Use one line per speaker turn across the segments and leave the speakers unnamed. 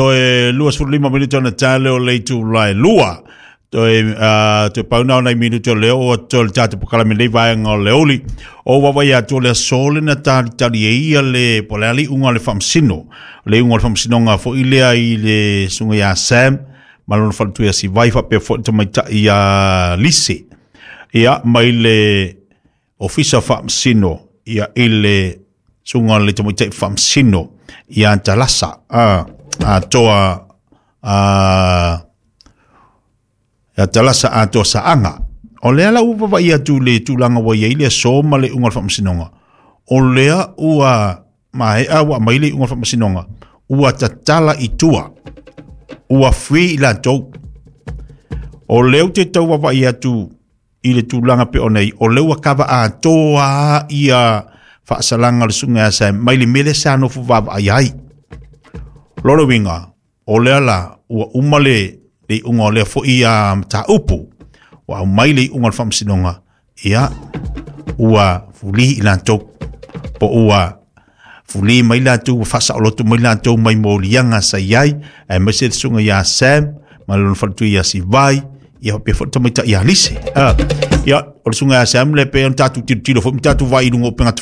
Toe 25 minute ona tale o le itula e lua. Toe, toe pau na o nai minute o leo o atu le tatou pokalame nei vaega o le uli. O wawa ia atu o le aso le na talitali e ia le po le ali unga le whamsino. Le unga le whamsino ngā fo ilea i le sunga ia Sam. Ma lona whalatu ia si vai whapea fo i tamaita ia Lise. Ia mai le Ofisa Faamasino ia i le susuga le Tamaitai Faamasino ia Talasa a atoa a ia Talasa atoa Saaga. O lea la ua vavaai atu le tulaga ua i ai le aso ma le iuga o le faamasinoga, o lea ua maea ua aumai le iuga o le faamasinoga, ua tatala i tua, ua free i latou. O lea ou te tau vaavaai atu i le tulaga pe ona i, o lea ua kava atoa ia faasalaga o le susuga ia Sam mai le mea lea sa nofo vaavaai ai. Lona uiga, o lea la ua uma le iuga o lea foi a mataupu, ua aumai le iuga o le faamasinoga, ia ua fuli i latou, po ua fuli mai latou, ua faasaoloto mai latou mai moliaga sa i ai, aemaise le susuga ia Sam ma lona faletua ia Sivai, ia faapea foi le tamaitai ia Lise. Ia, o le susuga ia Sam le pei ona tatou tilotilo foi ma tatou vaai i luga o upega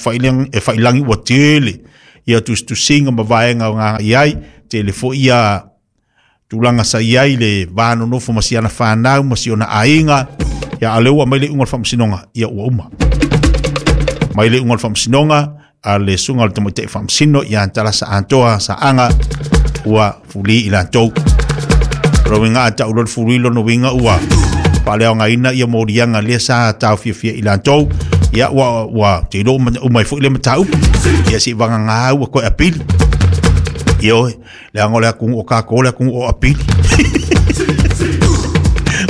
e failangi ua tele ia tusitusiga ma vaega o gaga i ai, tele foi ia tulaga sa i ai le va nonofo ma si ana whanau ma si ona aiga. Ia, a lea ua mai le iuga o le faamasinoga, ia ua uma. Mai le iuga o le faamasinoga a le susuga o le tamaitai faamasino ia Talasa Atoa Saaga ua fuli i latou. O lona uiga a tau loa le fuli lona uiga ua faaleaogaina ia moliaga lea sa taofiafia i latou. Ia ua te iloa uma ai foi le mataupu. Ia se i vagana ua toe apili. Ioe, leaga o le atunuu o tatou o le atunuu o apili.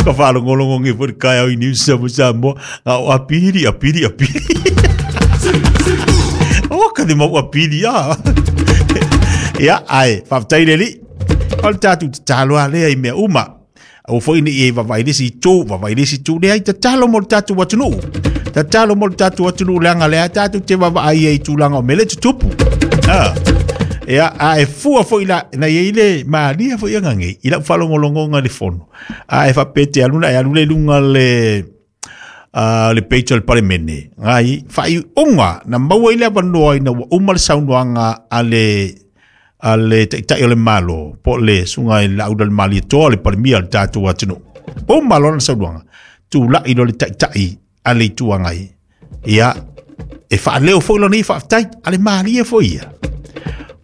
Ka faalogologo nei foi le taeao i News Samoa Samoa, a o apili, apili, apili. O, ka te mau apili, a. Ia, ai, faafetai le Alii. O le tatou tatalo lava lea i mea uma. Aua foi ne i e vaavaai i le isi itu, vaavaai i le isi itu, leai, tatalo mo le tatou atunuu. Tatalo mo le tatou atunuu, leaga lea tatou te vaavaai ai i tulaga o mea lea e tutupu. Ah. Ia, a e fua foi la, na i ai le malia foi aga nei, i lau faalogologoga i le fono. A e faapea e te alu na e alu le luga le, le page o le Palemene, ngai, faaiuga na maua ai le avanoa ina ua uma le saunoaga a le taitai o le Malo, po o le susuga i le Laaulialemalietoa, le Palemia o le tatou atunuu. Uma loa lana saunoaga, tulai loa le taitai a le Itu Agai, ia, e faaleo foi lona ia faafetai, a le malie foi ia.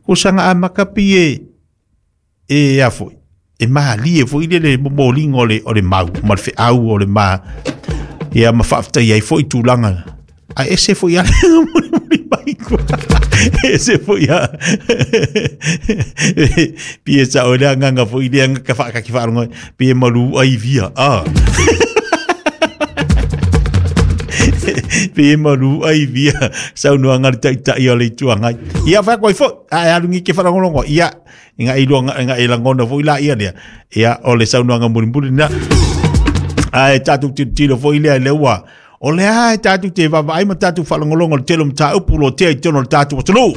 Ko saga amata pi e, e a foi, e malie foi le le momoliga o le mau ma le feau o le ma, ia ma faafetai ai foi tulaga. A ese foi a mulimuli mai kua. Ese foi a pi e sa o le anganga foi le anga ka whaakaki whaaronga pi e maru ai via. Ah. Pi e maru ai via saunoanga le taitai o le itu angai. Ia wha koe fo, a e alungi ke wharangolongo. Ia, inga i luanga, inga i langona foi la ia lea. Ia, o le saunoanga mulimuli na. A e tātou tilotilo foi lea i le ua. O lea e tātou te vaavaai ma tātou whaalongolongo le tele o mataupu lo tea i tonu o le tātou atunuu.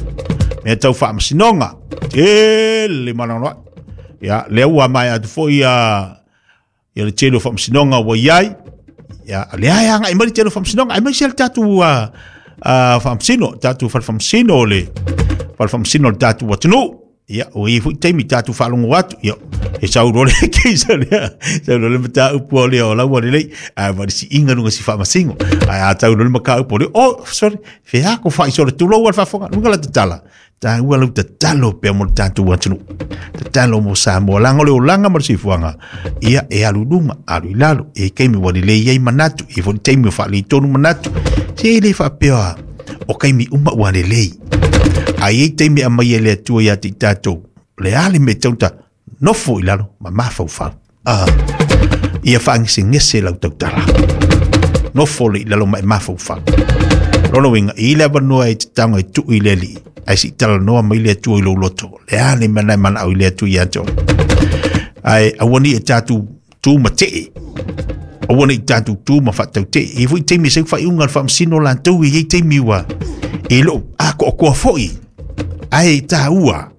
Mea tau faamasinoga. Tele mananoa. Ia, lea ua mai atu foi ia ia le tele o faamasinoga ua i ai. Ia, lea e agai mai le tele o faamasinoga. Aemaise le tātou faamasino, tātou fale faamasino o le fale faamasino o le tātou atunuu. Ia, o ia foi taimi tātou faalogo atu. Ia, e sau loa le keisa lea, sau loa le mataupu o lea o laua lelei, ae ma le siiga luga si faamasino. Ae a tau loa le mataupu o lea, oh, sorry, fea ko faaisolo, tulou a le faafofoga, luga la tatala. Tāua lau tatalo pea mo le tātou atunuu. Tatalo mo Samoa, leaga o le olaga ma le soifuaga, ia e alu i luga, alu i lalo, e taimi ua lelei ai manatu, e foi le taimi o faaletonu manatu. Se e le faapea o taimi uma ua lelei. A i ai taimi e aumai e le Atua ia te i tatou, o le a le mea e tatau ona nofo i lalo ma mafaufau. Ah, ia faagesegese lau tautala. Nofo le i lalo ma e mafaufau. Lona uiga, i le avanoa e te taga e tuu i le Alii, ae se i talanoa mai le Atua i lou loto. Le a le mea na e manao i le Atua ia te oe. Ae aua ne i e tatou tu ma tee. Aua ne i tatou tu ma faatautee. E i ai foi taimi e sau faaiuga a le faamasino latou, e i ai taimi ua e leo atoatoa foi. Ae taua.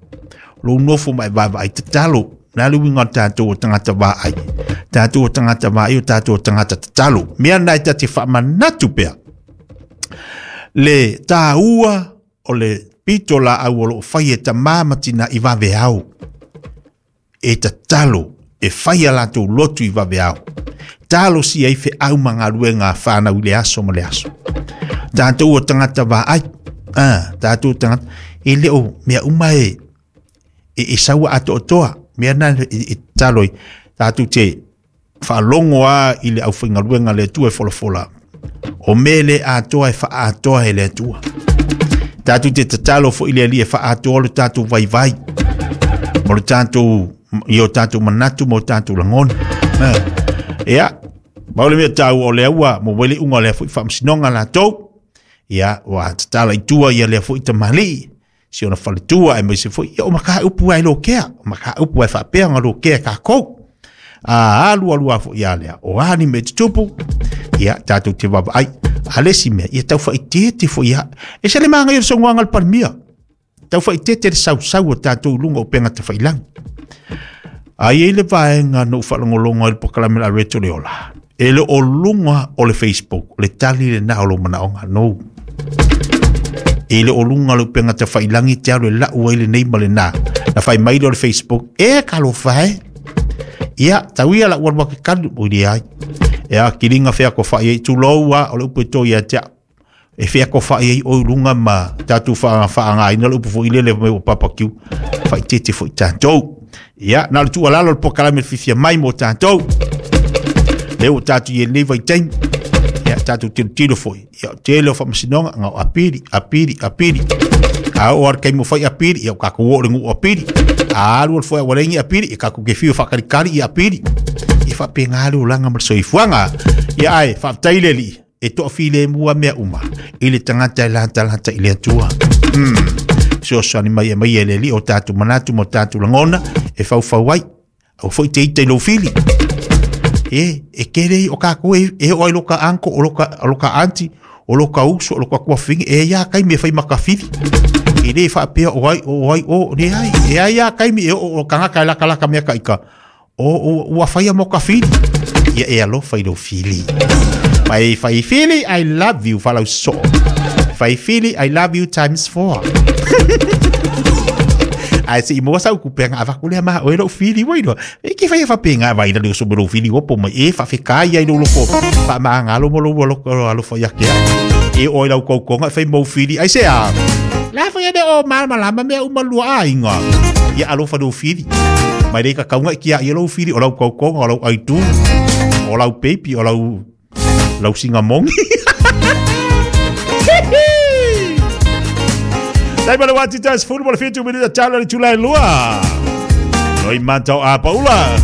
Lou nofo ma e vaavaai tatalo. O le a le uiga o le tatou o tagata vaai? Tatou o tagata vaai o tatou o tagata tatalo. Mea na e ta te faamanatu pea. Le tāua o le pito laau o loo fai e tamā ma tinā i vaveao. E tatalo e fai a latou lotu i vaveao. Talosia ai feau ma galuega a whānau i le aso ma le aso. Tātou o tagata vaai, ah, tātou o tagata, e le o mea uma e, e, e saua atoatoa, mea na e, e tatalo ai, tātou te faalogo a i le aufaigaluega a le Atua e folafola, o mea le atoa e faaatoa e le Atua. Tātou te tatalo foi le Alii e faaatoa lo tātou vaivai, mo le tātou, i o tātou manatu mo tātou lagona. Ia, mau le mea tāua o le aua, mo wele unga o lea foi faamasinoga latou. Ia, ua tatala i tua ia lea foi tamalii, si ona faletua aemaise foi ia o mataupu ai lokea, o mataupu ai faapea ona lokea e kākou. A alu alu a foi a lea, o a ni mea tutupu, ia tātou te vaavaai. A le isi mea, ia tau faaitiiti foi ia. E se le māngai o le saunoaga a le Palemia. Tau faaitiiti le sausau o tātou i luga o upega tafailagi. A i ai le vaega na ou faalogologo ai i le polokalame a Rachel Leola, e le o luga o le Facebook, o le tali lena o lou manaoga. No. E le o luga o le upega tafailagi te alu e lau ai lenei ma lena. Na fai mai lea o le Facebook, e talofa e. Ia, tau ia lau alu ake kanu, oi leai. Ea, kiliga feakofai ai, tulou a, o le upu e to ia te au. E feakofai ai oi luga ma tatou faaaogaina le upu foi lele mai ua barbecue. Faaitiiti foi tatou. Ia, na o le tuualalo o le polokalame fiafia mai mo tatou. Lea ua tatou i lenei vaitaimi. Ia, tatou tilotilo foi. Ia, o tele o faamasinoga, na o apili, apili, apili. A oo lava le taimi ua fai apili, ia ua tatou oo i le nuu apili. A alu alu foi a ua leai ni apili, ia tatou te fiu e faatalikali i apili. Ia faapena le olaga ma le soifuaga. Ia ae, faafetai i le Alii. E toafilemu lava mea uma i le tagata e latalata i le Atua. Fesoasoani mai e mai e le Alii o tatou manatu ma o tatou lagona e faufau ai. Aua foi te ita i lou fili. E, e tele o kākou e, e oo ai loka uncle, o loka, o loka auntie, o loka uso, o loka tuafafine, e i ai lava taimi e fai ma ka fili. E le faapea o ai o, o ai o, leai, e i ai lava taimi e oo o tagata e latalata mea ka ika, O, ua faia mo ka fili. Ia e alofa i lou fili. Fai, fai fili, I love you, falau soo. Fai fili, I love you times four. Ae se i maua sau kupe nga avatu lea ma oe lou fili ua iloa. E ke fai e faapena vai la le oso me lou fili ua po mai e faafekai ai lou loko faamagalo mo lou alofa ia te au. E oo ai lau tautoga e fai mou fili ai se a. La fai ane o malamalama mea uma lua aiga. Ia alofa lou fili. Mai le kakauga i kia i lou fili o lau tautoga o lau aitu o lau baby o lau lau singamongi. Dai ma le wati tas fulu mo le 7 minita talo le tula e lua. Loi mata o a paula.